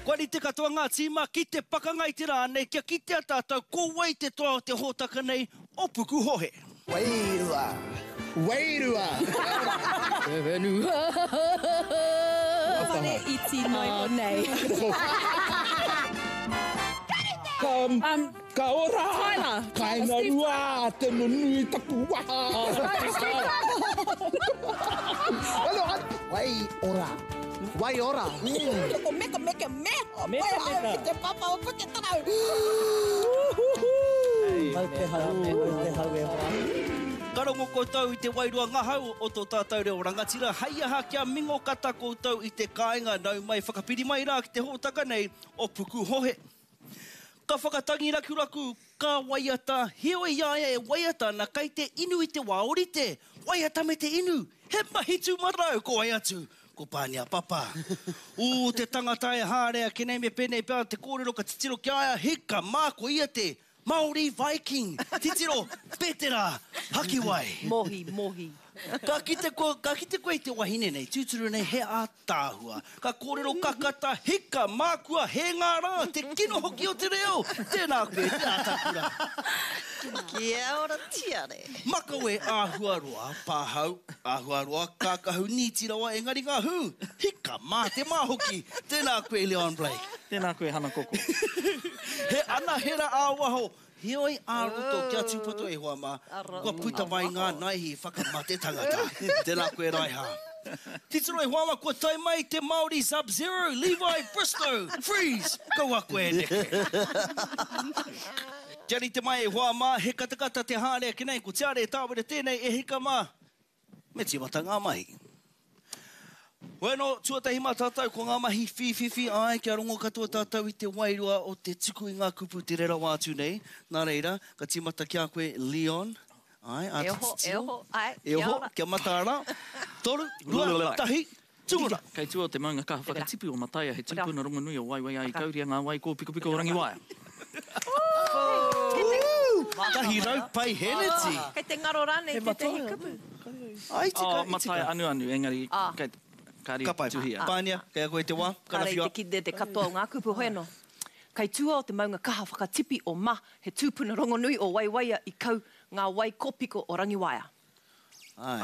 Kua rite katoa ngā tīma ki te pakanga i te rā nei kia kitea tātou ko wai te toa o te hōtaka nei o Pukuhohe. Wairua! Wairua! Te whenua! Whare iti noa iho nei. Ka, ka ora! Tyler! Kainga rua te nunui taku waha! Wai ora! Wai ora! Ko meka meka me! Meka meka. Ki te papa o Puketarau! Mau te hau, mau te hau e hoa. Ka rongo koutou i te wairua ngahau o tō tātou reo rangatira, hei aha kia mingo kata koutou i te kāinga, nau mai whakapiri mai rā ki te hōtaka nei o Pukuhohe. Ka whakatangi rakuraku, ka waiata, heoi i a ia e waiata ana kei te inu i te wā orite, waiata me te inu, he mahi tūmatarau, ko wai atu, ko Pānia Papa. Ū te tangata e haere ake nei me pēnei pea te kōrero ka titiro ki a ia, hika mā ko ia te Māori Viking, titiro, Petera, Hakiwai. Mohi, mohi. Ka kite koe, ka kite koe i te wahine nei, tūturu nei he ātaahua. Ka kōrero kakata, hika, mākua, hē ngā rā, te kino hoki o te reo! Tēnā koe, te ātakura. Kia ora Tiare. Makawe āhua roa, pāhau, āhua roa, kākahu nīti rawa engari ngā hū, hika, mā te mā hoki! Tēnā koe Leon Blake. Tēnā koe Hana Koko. He anahera ā-waho, Heoi ā-roto kia tūpato e hoa mā, kua puta mai ngā naihi whakamate tangata. Tēnā koe Raiha. Titiro e hoa mā, kua tae mai te Māori Sub Zero, Levi Bristow, freeze, kaua koe e neke. Kia rite mai e hoa mā, he katakata te haere ake nei, ko Tiare Tāwera tēnei e hika mā, Me tīmata ngā mahi. Hoi anō, tuatahi mā tātou ko ngā mahi whīwhiwhi, āe, kia rongo katoa tātou i te wairua o te tuku i ngā kupu tere rawa atu nei. Nā reira, ka tīmata ki a koe, Leon. Āe, āta E oho, e titiro. oho, āe, E kia oho, ora. kia mataara. Toru, rua, tahi, tūmura. Kei tua o te maunga kaha whakatipu o Mataia he tūpuna rongonui o Waiwaiā i kauria ngā wai kōpikopiko o Rangiwaea. 100 paiheneti! Kei te ngaro rānei tētehi kupu? Ai, tika, Oh, i tika. Mataia anuanu, engari kei, kāre Ka pai. tuhia. Pānia, kei a koe te wā, Kāre i karawhiua. te kite te katoa o ngā kupu, hoi anō. Kei tua o te maunga kaha whakatipi o Ma, he tūpuna rongonui o Waiwaia i kau ngā wai kōpiko o Rangiwaea. Āe,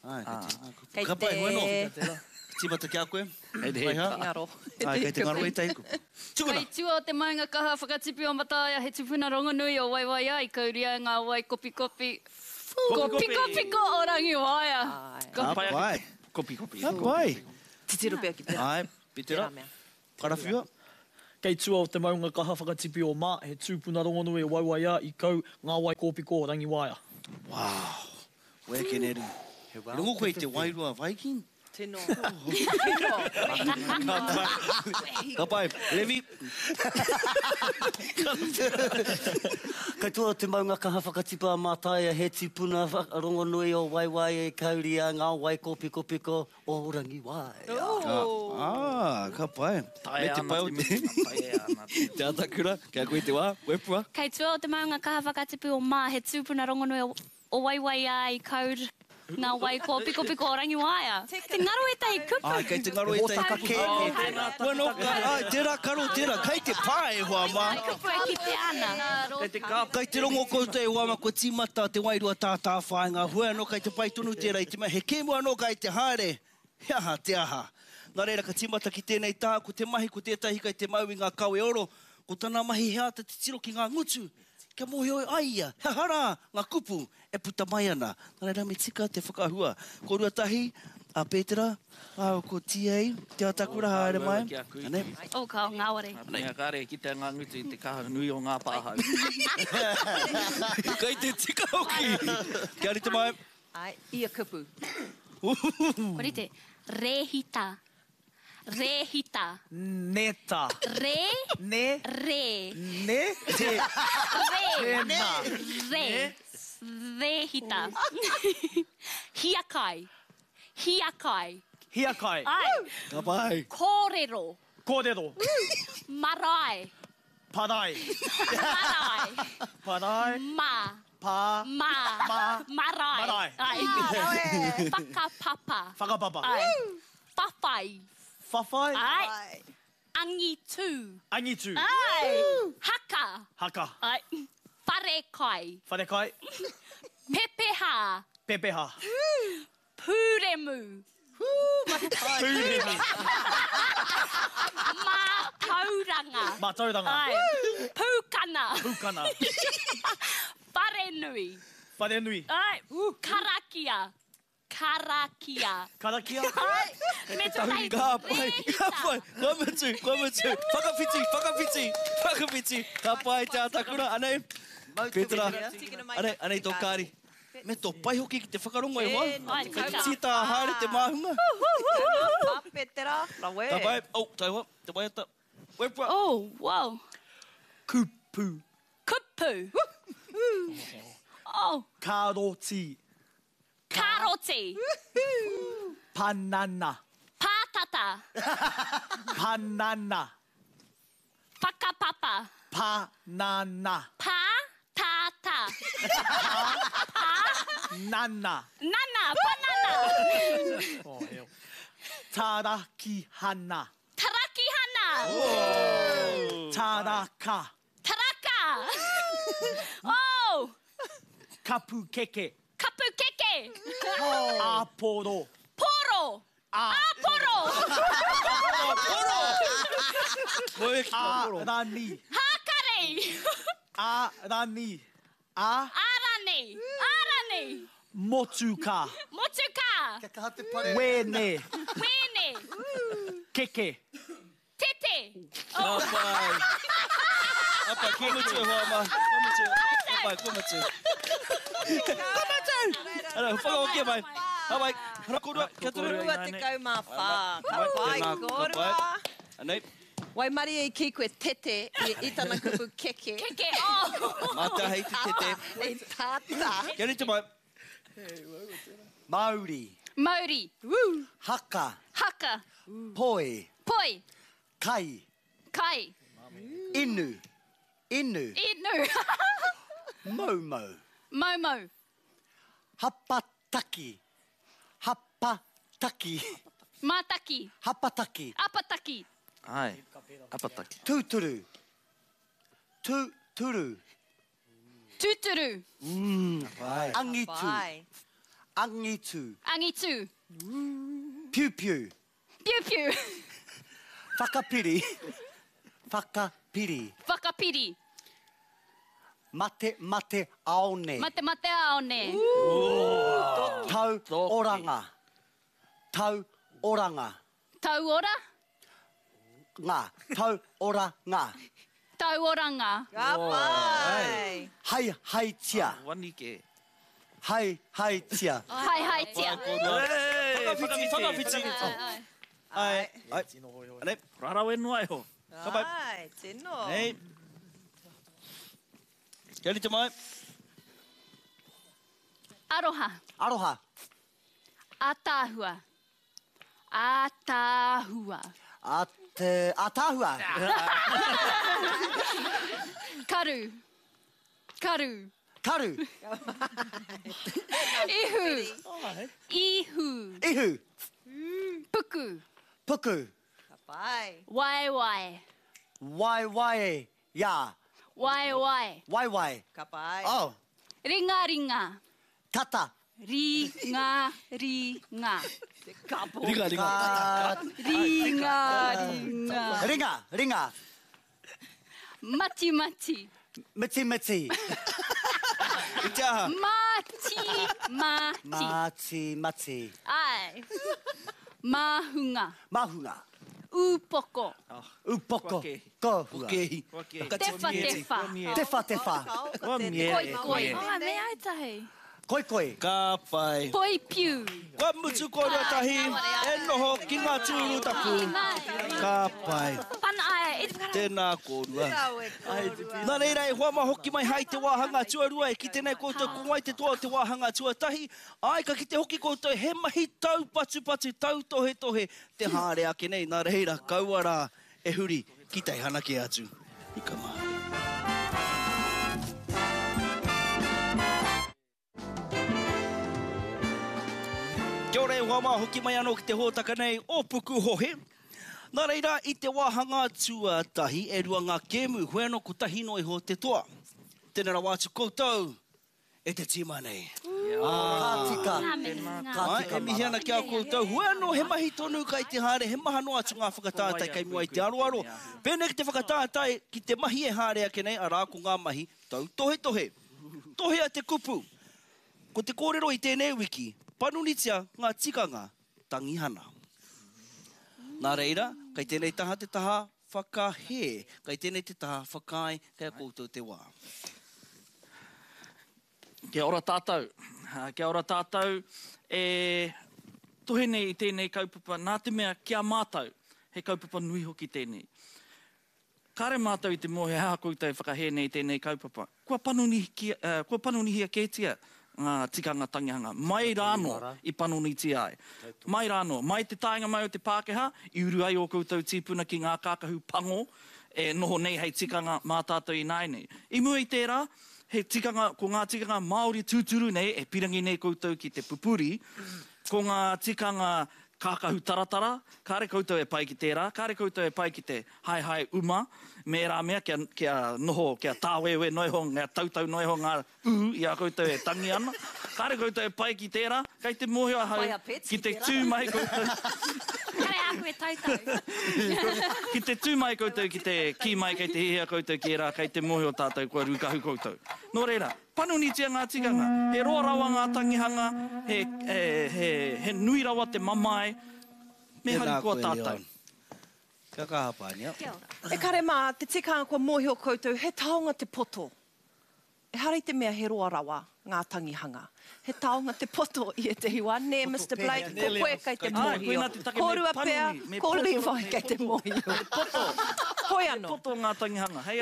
āe, kei te, Kei ka pai, hoi anō. te. Tīmata ki a koe. Kei te Raiha. Ngaro. Āe, kei te ngaro ētahi kupu. Tukuna! Kei tua o te maunga kaha whakatipi o Mataia he tupuna rongonui o Waiwaiā i kauria e ngā wai kopikopi Kopikopiko o Rangiwaea. Ka pai. Kopikopi. Ka pai. Titiro pea ki tera. Āe, Pitera. Tera mea. Karawhiua. Kei tua o te maunga kaha whakatipi o Ma, he tūpuna rongonui o Waiwaiā i kau ngā wai kōpiko o Rangiwaea. Wow! Wēkeneru. He rongo koe i te wairua Viking? Tino. Tino. Ka pai. Ka pai. Levi. Kei tua o te maunga kaha whakatipu a Mātaia, he tipuna rongonui o Waiwaia i kauria ngā wai kōpikopiko o Rangiwaea. Ah, ka pai. Me te pai o te... Te Atakura, kei a koe te wā, wepua. Kei tua o te maunga kaha whakatipu o Mā, he tūpuna rongonui o O Waiwaiā i kaur ngā wai kōpikopiko o Rangiwaea. Kei te ngaro ētahi kupu. Āe, kei te ngaro ētahi kupu. He hōtaka kē tēnā. Bueno, āe, tērā karo tērā. Kei te pā e hoa mā. Ngā kupu e kitea ana. Kei te kāpā. Kei te rongo koutou e hoa mā, kua tīmata te wairua tātāwhāinga. Hoi anō kei te pai tonu tērā i te mea he kēmu anō kei te haere. He aha te aha? Nā reira ka tīmata ki tēnei taha, ko te mahi ko tētahi kei te mau i ngā kawe oro, ko tana mahi he āta titiro ki ngā ngutu, kia mōhio ai ia he aha rā ngā kupu e puta mai ana. Nā reira me tika te whakahua. Ko Ruatahi, a Pētera, rāua ko TA, Te Atakura, haere mai. Anei. Oh, kao, ngāwari. Nā te mea kāre e kitea ngā ngutu i te kaha nui o ngā pāhau. Kei te tika hoki! Kia rite mai. Āe, ia kupu. Kua rite. Rēhita. Rēhita. Neta. Rē. Ne. Rē. Ne. Te. Rē. Tēnā. Rē. Rēhita. Hiakai. Hiakai. Hiakai. Āe. Ka pai. Kōrero. Kōrero. Marae. Parae. Marae. Parae. Ma. Pā. Ma. Ma. Marae. Marae. Ai. Whakapapa. Whakapapa. Ai. Whawhai. Whawhai. Ai. Angitu. Angitu. Angitu. Ai. Haka. Haka. Ai. Wharekai. Wharekai. Pepeha. Pepeha. Pūremu. Pūremu. Mātauranga. Mātauranga. Ai. Pūkana. Pūkana. Wharenui. Wharenui. Ai. Karakia. Karakia. Karakia. Ai. Me tētahi Ka pai, ka pai, kua mutu, kua mutu. Whakawhiti, whakawhiti, whakawhiti. Ka pai te atakura, anei. Petra, anei, anei tō kāri. Me tō pai hoki ki te whakarongo e hoa. Ai, Kei tika. tītā haere te māhunga. Ka Petera, rawe. Ka pai, oh, taihoa, te waiata. Wepua. Oh, wow. Kupu. Kupu. Oh. Karoti. Karoti. Panana. Pātata. Panana. Whakapapa. Panana. Pātata. Nana. Nana. Panana. Oh, hell. Tarakihana. Tarakihana. Taraka. Taraka. Oh. Kapu keke. Kapu keke. Aporo. Poro. Aporo. Arani. Hākari. Arani. A. Arani. Arani. Motuka. Motuka. Wene. Wene. Keke. Tete. Ka pai. Ka pai, kua mutu e hoa mā. Kua mutu. Ka pai, kua mutu. Kua mutu! Ara, whakahokia mai. Ka pai. Hara kōrua, kia tonu. 24. Ka pai, Tēnā, ka kōrua. pai. Anei. Waimarie i kī koe tete i, i tana kupu keke. Keke, oh! Mā te hei te tete. I tata. Kia rite mai. Mauri. Mauri. Woo. Haka. Haka. Poi. Poi. Kai. Kai. Inu. Inu. Inu. Moumou. Moumou. Hapataki. Hapataki. Mātaki. Hapataki. Apataki. Ai, apataki. Tūturu. Tūturu. Tūturu. Angitu. Angitu. Angitu. Piu piu. Piu piu. Whakapiri. Whakapiri. Whakapiri. Mate mate aone. Mate mate aone. Tau oranga. Tau oranga. Tau ora. Ngā. Tau ora ngā. Tau oranga. Ka pai. Hai hai tia. Wani ke. Hai hai tia. Hai hai tia. Whakawhiti, whakawhiti. Ai. Ai. Anei. Rarawe noa iho. Ka pai. Ai, tino. Nei. Kia rite mai. Aroha. Aroha. Ataahua. Ataahua. A te ataahua. Karu. Karu. Karu. Ihu. Ihu. Ihu. Puku. Puku. Ka pai. Waewae. Waewae. Ya. Waewae. Waewae. Ka pai. Oh. Ringa ringa. Tata. Ringa ringa. Ringa, ringa. Ringa ringa. Ringa. Ringa. Mati mati. Miti miti. I te aha. Mati mati. Mati mati. Ai. Māhunga. Mahunga. Ūpoko. Upoko. Kohua. Kehi. Tewha tewha. Tewha tewha. Koi koi. Oh, me ai tahi. Koi koi. Ka pai. Poi piu. Kua mutu kōrua tahi, e noho ki ngā tūru tapu. Ka pai. Pana ai, e te whakara. Tēnā kōrua. Rawe kōrua. Nā reira e hoa mā hoki mai hai te wāhanga tuarua e kite nei koutou ko wai te toa o te wāhanga tuatahi. Ai, ka kite hoki koutou he mahi taupatupatu, tautohetohe te haere ake nei. Nā reira, kaua rā e huri ki teihana kē atu. Ika mā. Kia ora e hoa mā, hoki mai anō ki te hōtaka nei o Pukuhohe. Nā reira, i te wāhanga tuatahi, e rua ngā kēmu, hoi anō kotahi noa iho te toa. Tēnā rawa atu koutou e te tīma nei. Ka tika. Ka tika, E mihi ana ki a koutou, hoi anō he mahi tonu kai te haere, he maha noa atu ngā whakatātai kei mua i te aroaro. Pēnei ki te whakatātai ki te mahi e haere ake nei, arā, ko ngā mahi tautohetohe. Tohea te kupu. Ko te kōrero i tēnei wiki, panonitia ngā tikanga tangihana. Nā reira, kei tēnei taha te taha whakahē, kei tēnei te taha whakaae, kei a koutou te wā. Kia ora tātou. Kia ora tātou e tohe nei i tēnei kaupapa nā te mea ki a mātou, he kaupapa nui hoki tēnei. Kāre mātou i te mōhio he aha koutou e whakahē nei i tēnei kaupapa. Kua panonihia, kua panonihia kētia ngā tikanga tangihanga, mai rānō i panonitia ai. Mai rānō, mai te taenga mai o te Pākehā, i uru ai ō koutou tīpuna ki ngā kākahu pango e noho nei hei tikanga mā tātou ināianei. I mua i tērā, he tikanga, ko ngā tikanga Māori tūturu nei e pirangi nei koutou ki te pupuri, ko ngā tikanga Kākahu taratara, kāre koutou e pai ki tērā, kāre koutou e pai ki te haehae uma me ērā mea kia, kia noho, kia tāwewe noa iho, kia tautau noa iho ngā ū i a koutou e tangi ana. Kāre koutou e pai ki tērā, kei te mōhio ahau Pai a Betsy ki te tērā. tū mai koutou. Kāre āku e tautau. Ki te tū mai koutou ki te kī mai kei te hiahia koutou ki ērā, kei te mōhio tātou kua rūkahu koutou. Nō reira, Panonitia ngā tikanga. He roa rawa ngā tangihanga, he, he, he, he nui rawa te mamae. Me Tēnā harikoa koe, tātou. Leon. Kia kaha, Pānia. Kia ora. E kare mā, te tikanga kua mōhio koutou, he taonga te poto. Ehara i te mea he roa rawa ngā tangihanga. He taonga te poto i ētehi wā, nē, Mister Blake, ko koe kei te mōhio. Kōrua pea, ko Levi kei te mōhio. Hoi anō.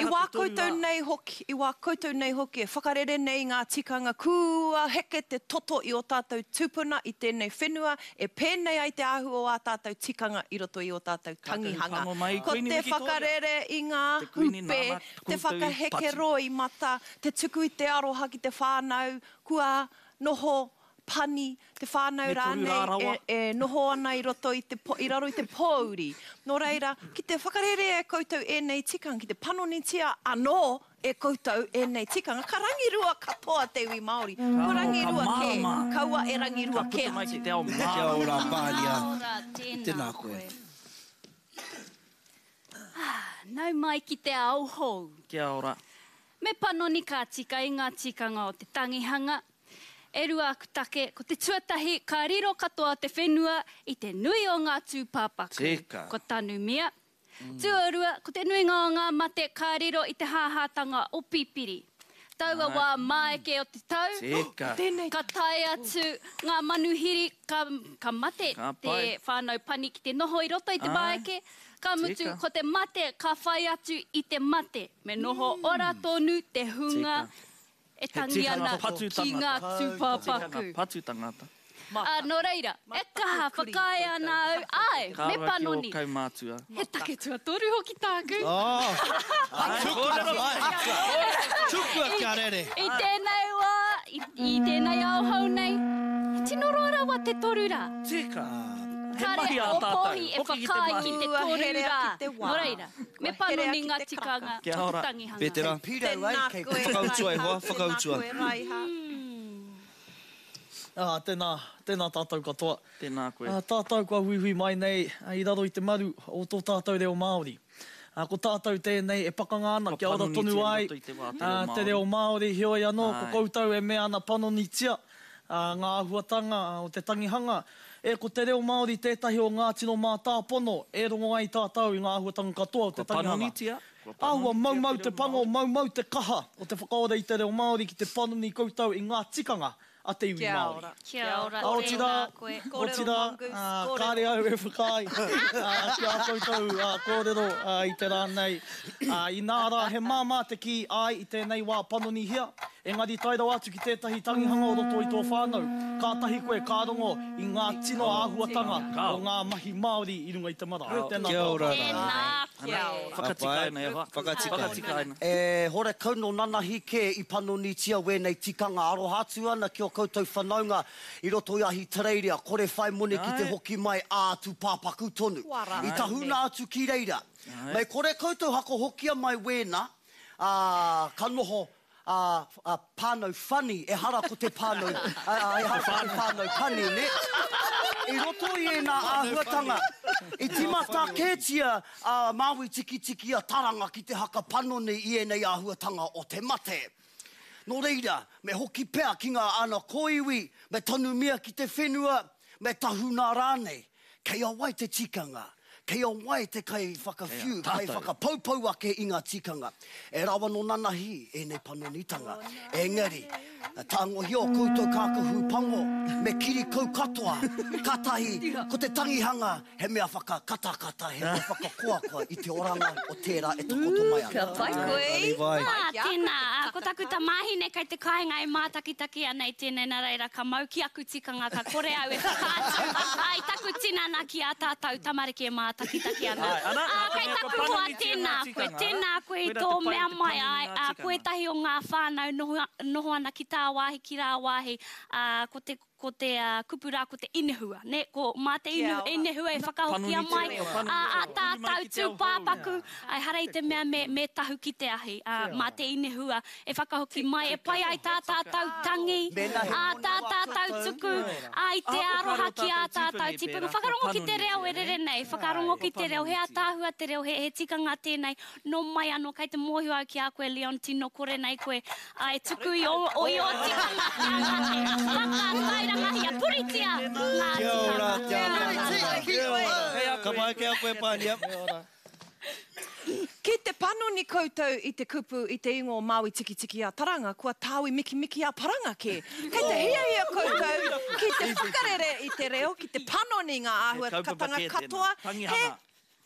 I wā koutou nei hoki, i wā koutou nei hoki e whakarere nei i ngā tikanga kua heke te toto i ō tātou tūpuna i tēnei whenua e pēnei ai te āhua o ā tātou tikanga i roto i ō tātou tangihanga. Ko te whakarere i ngā hupe, te whakaheke roimata, te tuku i te aroha ki te whānau, Kua noho pani te whānau rānei e noho ana i roto i te, i raro i te pōuri. Nō reira, ki te whakarērea e koutou ēnei tikanga, ki te panonitia anō e koutou ēnei tikanga, ka rangirua katoa te iwi Māori. Kua rangirua kē, kaua e rangirua kē atu. Kia ora Pānia. Kia ora, tēnā koe. Nau mai ki te ao hou. Kia ora. Me panoni ka tika i ngā tikanga o te tangihanga. E rua aku take, ko te tuatahi ka riro katoa te whenua i te nui o ngā tūpāpaku Tika. kua tanumia. Tuarua, ko te nuinga o ngā mate ka riro i te hāhātanga o Pipiri. Taua wā māeke o te tau, Tika. ka tae atu ngā manuhiri ka, ka mate Ka te pai. whānau pani ki te noho i roto i te Āe. māeke, ka mutu Tika. ko te mate ka whai atu i te mate. Me noho ora tonu te hunga e tangi ana ki ngā tūpāpaku. Tikanga patu tangata. Ā, nō reira, e kaha whakaae ana au, āe, me panoni. Ka rawa ki ō kaumātua. He take tuatoru hoki tāku. Tukua mai! Tukua kia rere! I tēnei wā, i tēnei ao hou nei, he tino roa rawa te 3 rā. Tika. He Kāre mahi ā o tātou. Pōhi e Hoki ki te whakaae mahi. ki te Kua toru herea rā. ki te wā. Nō reira, me Kua herea panoni ki ngā te karaka. tikanga Kia o te ora. tangihanga. Petera. Kei pirau ai, Tēnā kei koe, Whakautua e Raiha. hoa, whakautua. Tēnā koe, Raiha. Ā, tēnā, tēnā tātou katoa. Tēnā koe. Ā, tātou kua huihui mai nei i raro i te maru o tō tātou reo Māori. Ā, ko tātou tēnei e pakanga ana Kua kia ora tonu panonitia i ai roto i te wā te reo te reo Māori. Māori, heoi anō, ko Āe. koutou e mea ana panonitia ngā āhuatanga o te tangihanga. E, ko te reo Māori tētahi o ngā tino mātāpono e rongo ai tātou i ngā āhuatanga katoa o te Kua tangihanga. panonitia, kua Āhua panonitia maumau te te reo pango, Māori. maumau te kaha o te whakaora i te reo Māori ki te panoni koutou i ngā tikanga a te iwi Kia Māori. ora. Kia ora, Ā, otirā, tēnā koe. Kōrero otirā, mongoose, ā, kōrero. kāre au e whakaae ā, ki ā koutou ā, kōrero ā, i te rā nei. Ā, inā rā, he māmā te kī āe i tēnei wā panonihia, Engari tae rawa atu ki tētahi tangihanga o roto i tō whānau, kātahi koe ka rongo i ngā tino āhuatanga o ngā mahi Māori i runga i te marae. Tēnā Kia ora koutou. rā. Tēnā koe. Whakatikaina e hoa. Whakatikaina. E horekau nō nanahi kē i panonitia wēnei tikanga aroha atu ana ki ō koutou whanaunga i roto i Ahitereiria, kore whai moni ki te hoki mai ā tūpāpaku tonu. I tahuna atu ki reira. Mei kore koutou hakohokia mai wēnā, ā, ka noho a, a whānau funny, ehara ko te whānau, a, a, ehara ko te whānau pani, nē? I roto i ēnā āhuatanga, i tīmata kētia a Māui Tikitiki a Taranga ki te haka panoni i ēnei āhuatanga o te mate. Nō reira, me hoki pea ki ngā ana kōiwi, me tanumia ki te whenua, me tahuna rānei. Kei a wai te tikanga? Kei a wai te kaiwhakawhiu, kaiwhakapoupou ake i ngā tikanga? E rawa nō nanahi ēnei panonitanga. Engari, tāngohia o koutou kākahu pango me kirikau katoa, kātahi ko te tangihanga he mea whakakatakata, he mea whakakoakoa i te oranga o tērā e takoto mai ana. Ka pai koe. Ā, tēnā, ko taku tamāhine kei te kāinga e mātakitaki ana i tēnei, nā reira ka mau ki aku tikanga ka kore au e whakaatu i taku tinana ki ā tātou tamariki e mātakitaki ana. Ā, kei taku hoa, tēnā koe, tēnā koe i tō mea mai, āe, ā, ko ētahi o ngā whānau noho, noho ana ki tāwāhi, ki rāwāhi, ā, ko te, ko te kupu rā ko te inehua, nē, ko mā te inu, inehua e whakahokia mai, ā, ā tātou tūpāpaku, ā, ehara i te mea me, me tahu ki te ahi, ā, mā te inehua e whakahoki mai, e pai ai tā tātou tangi, ā tā tātou tuku, ā, i te aroha ki ā tātou tīpuna. Whakarongo ki te reo e rere nei, whakarongo ki te reo, he ātaahua te reo, he, he tikanga tēnei, nō mai anō, kei te mōhio au ki a koe Leon, tino kore nei koe, ā, e tuku i ō, i ō tikanga kia mate, whakatairangahia, puritia ngā Kia ora, tikanga. kia ora. Ka pai ki a koe Pānia. Ki te panoni koutou i te kupu i te ingoa o Māui Tikitiki a Taranga, kua tāui mikimiki a Paranga kē. Kei te hiahia koutou ki te whakarere i te reo, ki te panoni i ngā āhuatanga katoa, he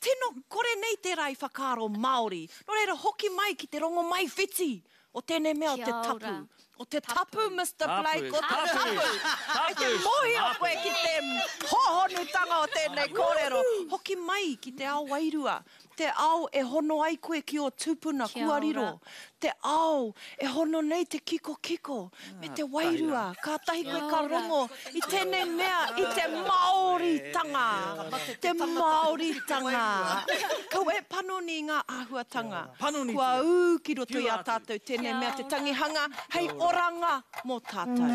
tino kore nei tērā i whakaaro Māori. Nō reira, hoki mai ki te rongomaiwhiti o tēnei mea o te tapu. O te tapu, Mister Blake, o te tapu. Kei te mōhio koe ki te hōhonutanga o tēnei kōrero. Hoki mai ki te ao wairua, te ao e hono ai koe ki ō tūpuna kua riro, te ao e hono nei te kikokiko me te wairua, kātahi koe ka rongo i tēnei mea, i te Māoritanga, te Māoritanga. Kaua e panoni i ngā āhuatanga. Kua ū ki roto i a tātou tēnei mea te tangihanga hei oranga mō tātou.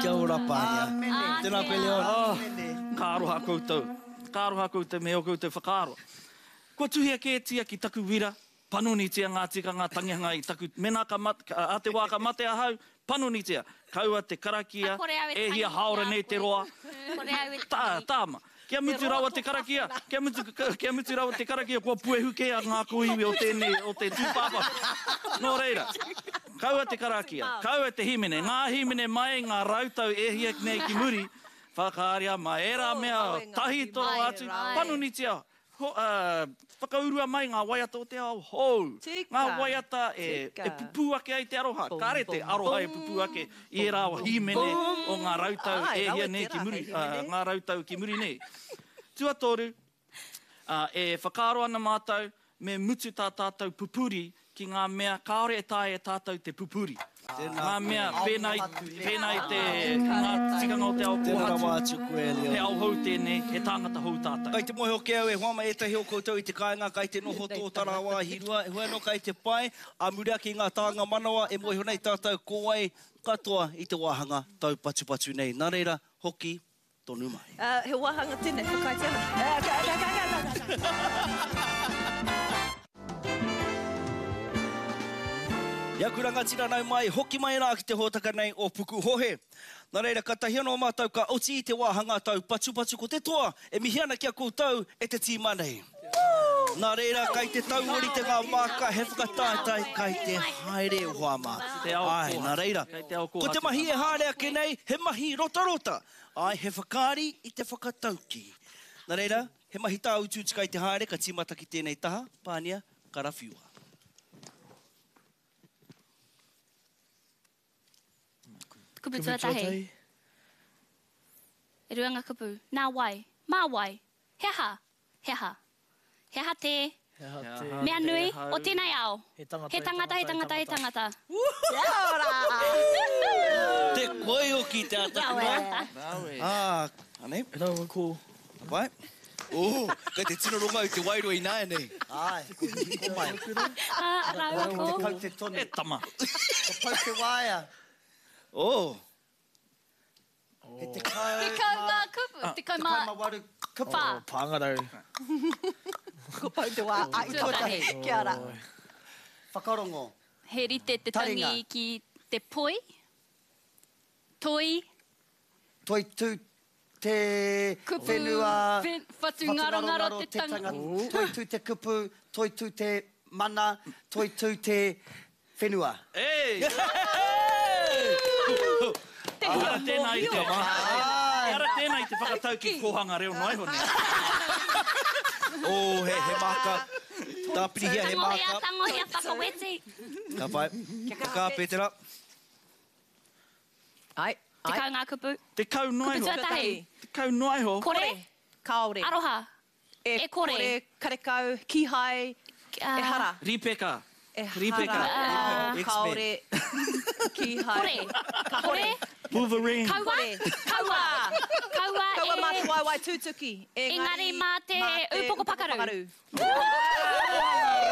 Kia ora Pānia. Tēnā koe Leon. Ka aroha koutou. Ka aroha koutou me ō koutou whakaaro. Kua tuhia kētia ki taku wira Panonitia ngā tikanga tangihanga i taku, mēnā ka mate, ā te wā ka mate ahau, panonitia, kaua te karakia, e hia hāora nei te roa, tā, tāma. Kia mutu rawa te karakia, kia mutu, kia mutu rawa te karakia, kua puehu kē a ngā kōiwi o tēnei, o te tūpāpaku. Nō reira, kaua te karakia, kaua te hīmene, ngā hīmene mai ngā rautau e hia nei ki muri, whakaaria mai ērā mea tahito rawa atu, panonitia, Whakaurua mai ngā waiata o te ao hou, ngā waiata e pupū ake ai te aroha, kāre te aroha e pupū ake i ērā hīmene o ngā rautau e hia nei ki muri, ngā rautau ki muri nei. Tuatoru, e whakaaro ana mātou me mutu tā tātou pupuri ki ngā mea kāore e taea e tātou te pupuri. Ngā mea pēnā i, pēnā i te, ngā tikanga o te ao kōhatu, he ao hou tēnei, he tāngata hou tātou. Kai te mōhio kē au e hoa mai ētahi o koutou i te kāinga kai te noho tōtara wāhi rua, heoi anō kai te pae, ā muri ake i ngā tānga manawa e mōhio nei tātou ko wai katoa i te wāhanga taupatupatu nei. Nā reira, hoki tonu mai. He wāhanga tēnei, whakaaetia ana. Ka, ka, ka, ka, ka, ka. I aku rangatira nau mai, hoki mai rā ki te hōtaka nei o Pukuhohe. Nā reira, katahi anō mātou ka oti i te wāhanga taupatupatu ko te toa e mihi ana ki a koutou e te tīma nei. Nā reira, kai te tauorite ngā māka, he whakataetae kai te haere e hoa mā. Āe, nā reira, ko te mahi e haere ake nei, he mahi rotarota. Āe, he whakaari i te whakataukī. Nā reira, he mahi tāutuutu kai te haere, ka tīmata ki tēnei taha, Pānia, karawhiua. Kupu tuatahi. E rua ngā kupu. Nā wai? Mā wai? He aha? He aha? He aha te. He aha te. Mea nui o tēnei ao? He tangata, he tangata, he tangata, he tangata. Kia ora! Te koioki te ataku mai. Rawe. Ah, anei. Rawa ko. Ka pai. Oh, kei te tino rongo au te wairua ināianei. Āe, ko hihiko mai. Ah, rawa ko. Te kaute tonu. E tama. Ko pau te waea. Oh. He tekau. 10 ngā kupu, 10 mā. 18 kupu. Whā. Oh, pāngarau. Ko pau te wā, ai, Tuatahi. Kia ora. Whakarongo. He rite te tangi Taringa. ki te poi, toi. Toitū te Kupu, whenua. Whatungarongaro te tangata. Toitū te kupu, toitū te mana, toitū te whenua. Hey! Ehara tēnā i te Ehara tēnā i te whakatau ki kōhanga reo noa iho nei. Oh, he, he māka. Tāpirihia he māka. Tangohia, tangohia, whakaweti. Ka pai. Ka kaha, Pētera. Ai, ai. 10 ngā kupu. 10 noa iho. Kupu tuatahi. 10 noa iho. Kore. Kāore. Aroha. E E kore. kore, karekau, kīhai, ehara. Rīpeka. Ehara. Rīpeka. Kāore, kīhai. Kore. Kore. Wolverine. Kaua. Kore. Kaua. Kaua Kaua mā te e. waewae tūtuki. Engari mā te ūpoko pakaru.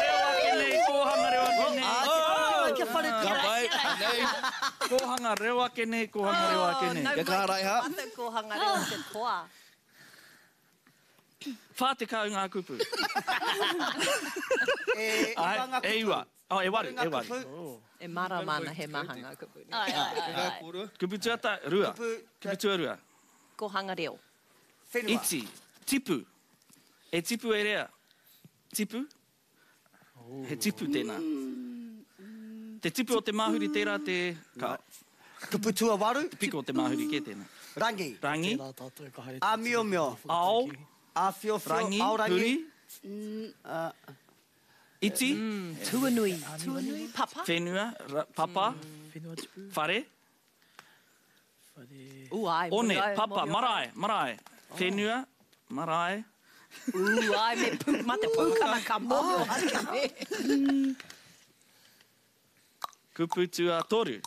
Kōhanga reo ake nei, kōhanga reo ake nei. Kia whare Ka pai. Anei. Kōhanga reo ake nei, kōhanga reo ake nei. Nau Kia kaha, mai ki Raiha. te mātou kōhanga reo te toa. 40 ngā kupu. E iwa ngā E kupu. iwa. Oh, e waru, e waru. Kupu, E mārama ana he maha ngā kupu. Ai, ai, ai, ai. Kupu tuata, rua. Kupu, Kupu tuarua. Kōhanga reo. whenua. Iti. Tipu. E tipu e rea. Tipu? He tipu tēnā. Te tipu o te māhuri tērā te... Ka, Kupu tuawaru. te piko o te māhuri kē tēnā. Rangi. Rangi. Tērā tātou ka haere. Āmiomio. Ao. Āwhiowhio. Rangi. Aorangi. Huri. Iti. Tuanui. Tuanui. Papa. Whenua. Ra, papa. Whenua tipu. Whare. Whare. Ū, ai. One. mōhio au, Papa. mōhio au. Marae. Marae. Whenua. Marae. Ū, ai, me pū, mā te pūkana ka mōhio ake. Kupu tuatoru.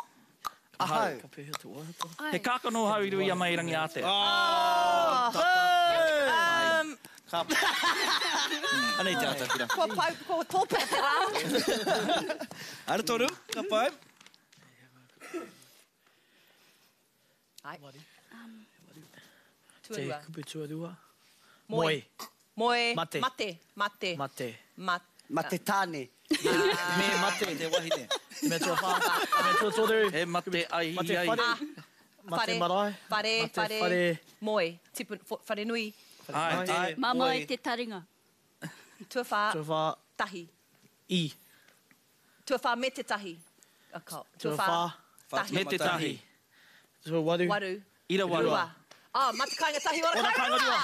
Ahau. Ka pēhea te waiata? He kākano hau i rui a mai rangi ātea. Ka pai. Anei te atakura. Kua pau, kua tōpea te rā. Ara toru. Ka pai. Ai. Te Tuarua. kupu tuarua. Moe. Moe. Moe. Mate. Mate. Mate. Mate. Mate. Mate tāne. Me mate. Te wahine. Me tuawhā. Me tuatoru. He mate ai Mate ai. whare. Mate marae. Whare, Mate whare. whare. Moe. Tipu, whare nui. Ai. Ai. Mamae te taringa. Tuawhā. Tuawhā. Tahi. I. Tuawhā me te tahi. Ka, Tuawhā. Tahi. Me te tahi. Tuawaru. Waru. Ira waru. Rua. Ah, mate kāinga tahi ora kāinga rua.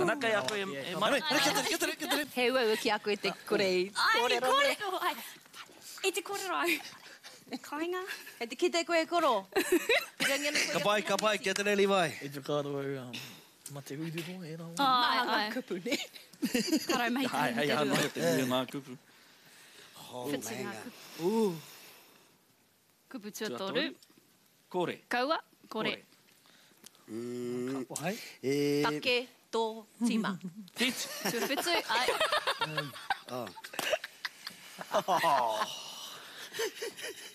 Ana kei a koe e mate. Anei, kia tere, kia tere, kia tere. He uaua ki a koe te kore i Ai, kōrero. kōrero. Ai. I te kōrero au. Kāinga. Kei te kite koe e koro. Pirangi ana koe Ka pai, ka pai, kia tere Levi. I te whakaaro au, mate ururoa, e rā. Ai, Maha ngā ai. kupu, ne? Karau mahi Ai, hei tahi aha te rua. noa te nui o ngā kupu. Whitu ngā kupu. Kupu tuatoru. Kore. Kaua. Kore. Kapo hai. E, Take, tō, tima. Whitu. Tuawhitu. Ai.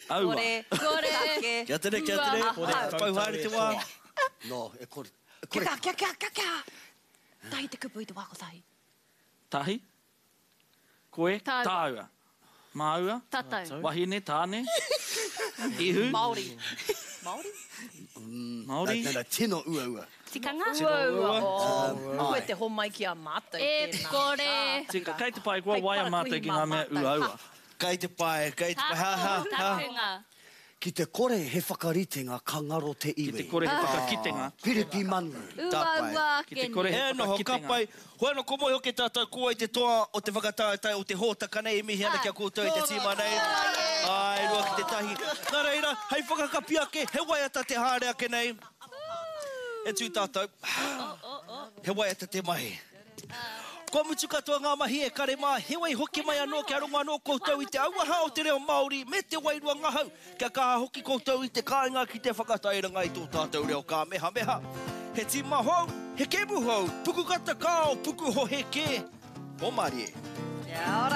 Aua. Kore. Kore. Take. Kia tere, kia tere. Ahau. Pau haere te wā. No, e kore. E Kia kore. ka, kia ka, kia ka. Tahi te kupu i te wā kotahi. Tahi. Koe. Tāua. Tāua. Māua. Tātou. Wahine, tāne. Ihu. Māori. Māori? Māori. No, no, tino uaua. Tikanga. Uaua. Oh, Koe Ai. te homai ki a mātou E tēnā. kore. Tika, kei te pai, kua Hei waia mātou parakuihi ki ngā mā mea mātou. uaua. Kei te pai, kei te pai. Ha, ha, ha. Takunga. Ki te kore he whakaritenga ka ngaro te iwi. Ki te kore he whakakitenga. Piripi Manu. Uaua ake Ki te kore he E noho whakakitenga. ka pai. Hoi anō ko moe hoki tātou ko wai te toa o te whakataetae o te hōtaka nei e mihi ana ki a koutou e te tīma nei. Āe, 2 ki te 1. Nā reira, hei whakakapi ake, he waiata te haere ake nei. E tū tātou. He waiata te mahi. Kua mutu katoa ngā mahi e kare mā, heoi hoki mai anō kia rongo anō koutou i te auaha o te reo Māori me te wairua ngahau, kia kaha hoki koutou i te kāinga ki te whakatairanga i tō tātou reo kāmehameha. He tīma hou, he kēmu hou, pukukata kao, pukuhohe kē, Pōmārie. Kia ora.